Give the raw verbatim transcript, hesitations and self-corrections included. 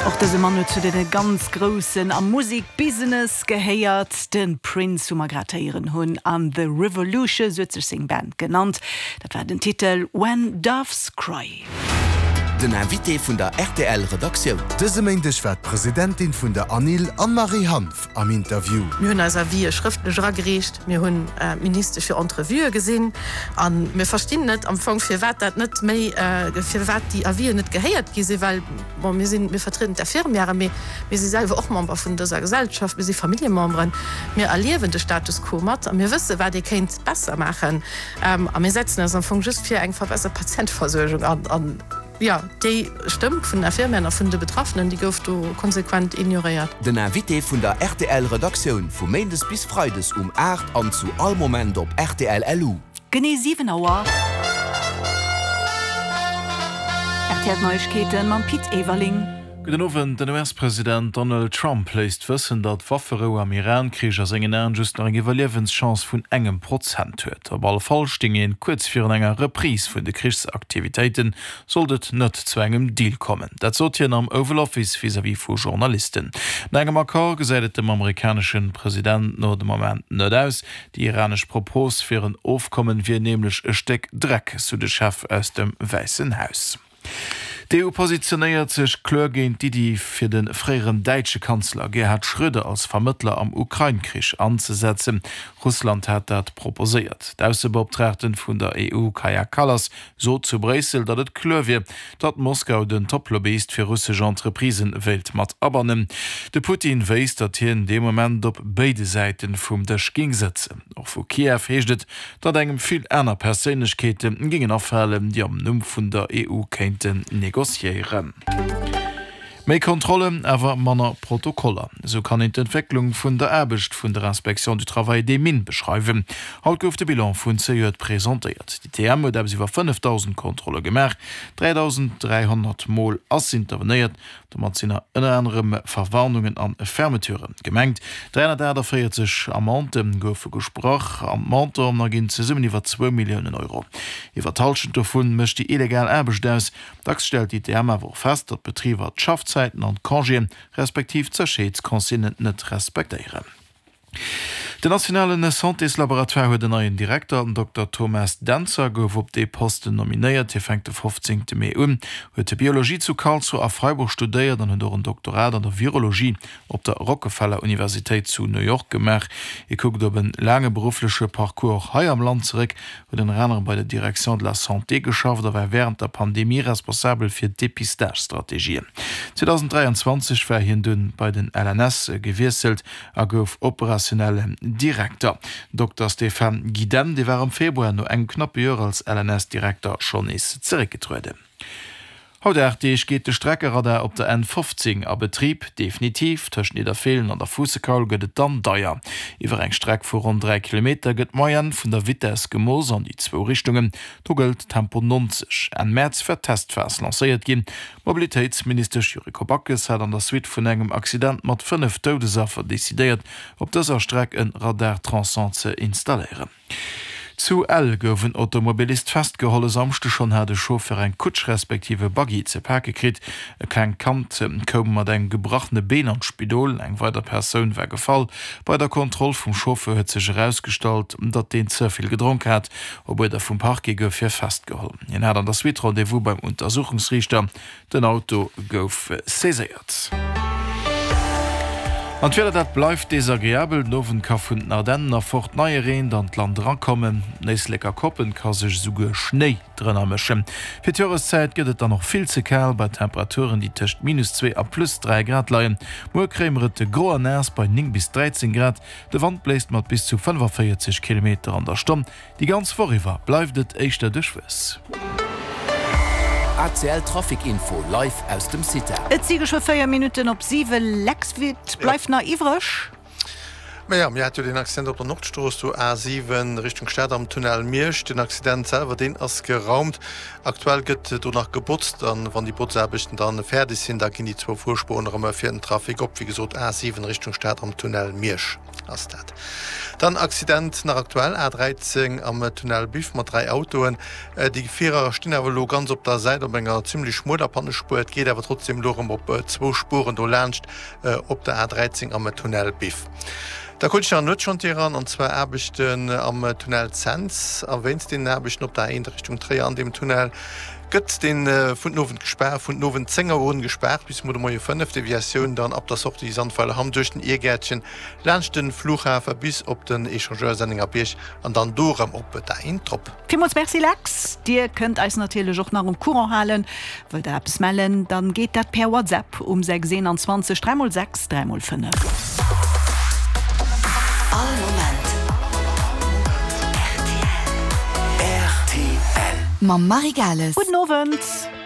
Och dëse Mann huet zu deene ganz Groussen am Musekbusiness gehéiert, de Prince, wou mer grad héieren hunn, an The Revolution, sou huet sech seng Band genannt. Dat war den Titel When Doves Cry. Den Invité vun der rtl Redaktioun. Dëse Méindeg war d'Presidentin vun der ANIL, Anne-Marie Hanff, am Interview. Mir hunn eis Avisë schrëftlech eragereecht, mir hunn d'Ministesch fir Entrevuë gesinn a mir verstinn net am Fong, firwat dat net méi, firwat déi Avisen net gehéiert gi sinn, well, bon, mir sinn, mir vertrieden d'Infirmièren, mee mir si selwer och Member vun dëser Gesellschaft, mir si Familljememberen, mir erliewen de Status quo mat a mir wësse wat ee kéint besser maachen a mir setzen eis am Fong just fir eng verbessert Patienteversuergung an. Jo, déi Stëmm vun den Infirmieren a vun de Betraffenen, déi gouf do konsequent ignoréiert. Den Invité vun der rtl Redaktioun vu Méindes bis Freides um aacht an zu all Moment op rtl Lu. Genee siwen Auer. Rtl Neiegkeeten mam Pit Everling. Gudden Owend, Den U S-President Donald Trump léisst wëssen, datt d'Wafferou am Iran-Krich a sengen Aen just nach eng Iwwerliewenschance vun engem Prozent huet. Op alle Fall stéing een kuerz virun enger Reprise vun de Krichsaktivitéiten, sollt et net zu engem Deal kommen. Dat sot hien am Oval Office vis-à-vis vu Journalisten. No engem Accord gesäit et dem amerikanesche President no de Moment net aus. Déi iranesch Propos fir en Ofkommen wier nämlech e Stéck Dreck, sou de Chef aus dem Wäissen Haus. D'E U positionéiert sech kloer géint d'Iddi, fir de fréieren däitsche Kanzler Gerhard Schröder als Vermëttler am Ukrain-Krich anzesetzen. Russland hat dat proposéiert. D'Aussebeoptraagten vun der E U Kaja Kallas sot zu Bréissel, datt et kloer wier, datt Moskau den Top-Lobbyist fir russesch Entreprisë wéilt mat abannen. De Putin wéisst, datt hien dee Moment op béide Säite vum Dësch géing sëtzen. Och vu Kiew heescht et, datt engem vill aner Perséinlechkeete géingen afalen, déi am Numm vun der E U kéinten negociéieren. Méi Kontrollen, awer manner Protokoller. Esou kann een d'Entwécklung vun der Aarbecht vun der Inspection du Travail et des Mines beschreiwen. Haut gouf de Bilan vun zejoert presentéiert. D'I T M huet eppes iwwer fënnefdausend Kontrolle gemaach, dräidausend dräihonnert Mol ass intervenéiert. Domat sinn ënner anerem Verwarnungen an Fermeture gemengt. dräihonnertaachtavéierzeg Amendë goufe gesprach an d'Montanten erginn zesummen iwwer zwou Milliounen Euro. Iwwer d'Hallschent dovun mécht déi illegal Aarbecht aus. Dacks stellt d'I T M awer och fest, datt d'Betriber d'Schaffzäiten an d'Congéen, respektiv d'Sécherheetsconsignen net respektéieren. Den nationale Santéslaboratoire huet en neien Direkter, den Dokter Thomas Dentzer gouf op dee Posten nominéiert. Hie fänkt de fofzéngte Mee un, huet Biologie zu Karlsruhe a Freiburg studéiert an huet och en Doktorat an der Virologie op der Rockefeller Universitéit zu New York gemaach. Hie kuckt op e laange beruffleche Parcours och hei am Land zeréck, huet ënner anerem bei der Direction de la Santé geschafft a war wärend der Pandemie responsabel fir Depistage-Strategien. zweedausenddräianzwanzeg war hien dunn bei den L N S gewiesselt a gouf operationellen Direkter. Dokter Stéphane Gidenne, dee war am Februar no engem knappe Joer als L N S-Direkter schonn nees zeréckgetrueden. Haut aacht Deeg geet de Streckeradar op der N fofzéng a Betrib. Definitiv, tëscht Nidderfeelen an der Fuussekaul gëtt et dann deier. Iwwer eng Streck vu ronn dräi Kilometer gëtt d'Moyenne vun der Vitess gemooss an déi zwou Richtungen. Do gëllt Tempo neunzeg. Enn Mäerz war d'Testphas lancéiert ginn. D'Mobilitéitsministesch Yuriko Backes hat an der Suite vun engem Accident mat fënnef Doudesaffer decidéiert, op dëser Streck e Radar-Tronçon ze installéieren. Zu Ell gouf en Automobilist festgeholl. E Samschdeg schonn hat e Chauffeur eng Kutsch respektiv e Buggy ze pake kritt. E klengt Kand koum mat engem gebrachene Been an d'Spidol. Eng weider Persoun war gefall. Bei der Kontroll vum Chauffeur huet sech erausgestallt, datt deen ze vill gedronk hat. Op Uerder vum Parquet gouf hie festgeholl. Hien hat an der Suite Rendez-vous beim Untersuchungsriichter. Den Auto gouf saiséiert. An d'Wieder, dat bleift desagreabel. Den Owend ka vun den Ardennen erfort neie Reen an d'Land erakommen. An Éisleker Koppen ka sech esouguer Schnéi drënner mëschen. Fir d'Joreszäit gëtt et dann och vill ze kal, bei Temperaturen, déi tëscht minus zwee a plus dräi Grad leien. Muer kréie mer et gro an naass bei néng bis dräizéng Grad. De Wand bléist mat bis zu fënnefavéierzeg Kilometer an der Stonn. Déi ganz Woch iwwer bleift et éischter duerchwuess. A C L Trafic Info live aus dem CITA. Et si geschwë véier Minutten op siwen. Lex, wat bleift nach iwwreg? Mä jo, mir hate jo deen Accident op der Nordstrooss, do A siwen Richtung Stad am Tunnel Miersch. Den Accident selwer, deen ass geraumt. Aktuell gëtt do nach gebotzt an wann déi Botzaarbechten dann fäerdeg sinn, da ginn déi zwou Fuerspuren erëm fir den Trafic op. Wéi gesot, A siwen Richtung Stad am Tunnel Miersch ass dat. Dann Accident nach aktuell, A dräizéng am Tunnel Biff mat dräi Autoen. Déi Gefierer stinn awer elo ganz op der Säit op enger zimmlech schmueler Pannespuer. Et geet awer trotzdem elo erëm op zwou Spueren do laanscht op der A dräizéng am Tunnel Biff. Da krut ech nach en Nuetschantier eran, an zwar Aarbechten am Tunnel Cents. A wéinst deenen Aarbechten op der A eent Richtung Tréier an deem Tunnel gëtt dee vun den Owend gespaart, vun den Owend zéng Auer un gespaart bis muer de Moie fënnef. Deviatioun dann ab der Sortie Sandweiler-Hamm duerch den Irgäertchen, laanscht de Flughafe bis op den Echangeur Sennengerbierg an dann do erëm op d'A eent drop. Villmools Merci Lex. Dir kënnt eis natierlech och nach um Courant halen. Wëllt der eppes mellen, dann geet dat per WhatsApp um sechs eenanzwanzeg dräi mol sechs dräi mol fënnef. All Moment rtl. Rtl. Mam Marie Gales. Gudden Owend.